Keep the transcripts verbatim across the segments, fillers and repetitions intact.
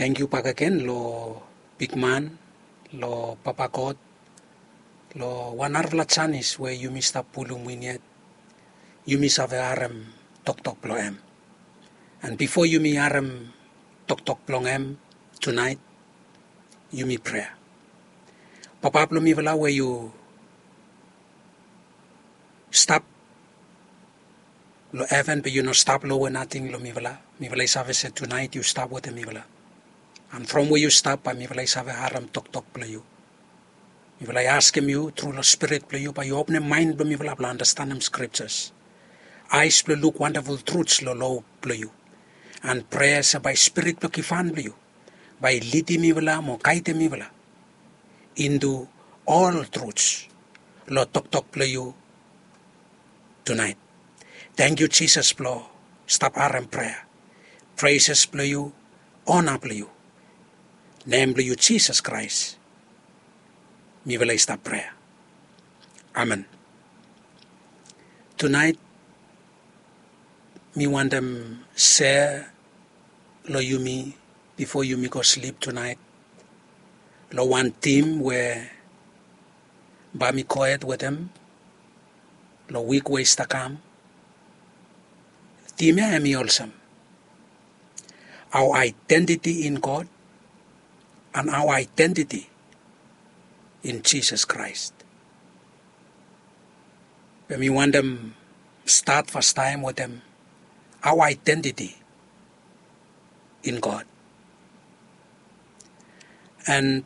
Tangkiu bakegen lo bigman, lo Papa God, lo wan narafala janis we yumi stap pulum win yet yumi save harem toktok blong hem. An bifo yumi harem toktok blong hem tunaet, yumi prea. Papa blong mifala we yu stap lo heven, be yu no stap lowe nating lo mifala. Mifala i save se tunaet yu stap wetem mifala. An from we yu stap, bae mifala i save harem toktok blong yu. Mifala i askem yu tru lo spirit blong yu bae yu openem maen blong mifala blong andastanem scriptures, aes blong luk wandaful truts lo lo blong yu. An prea se bae spirit blong givhan blong yu bae i lidim mifala mo gaedem mifala intu ol truts lo toktok blong yu tunaet. Tangkiu Jisas blong stap harem prea. Preses blong yu, ona blong yu. Nem blong yu Jisas Kraes mifala i stap prea. Amen. Tunaet mi wantem sea lo yumi bifo yumi go slip tunaet lo wan tim we bae mi gohed wetem lo wik we i stap kam. Tim ya hemi olsem: Our identity in God and our identity in Jesus Christ. Be mi wantem stat fastaem wetem our identity in God. An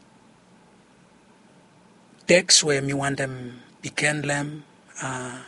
teks we mi wantem bigin long hem, a,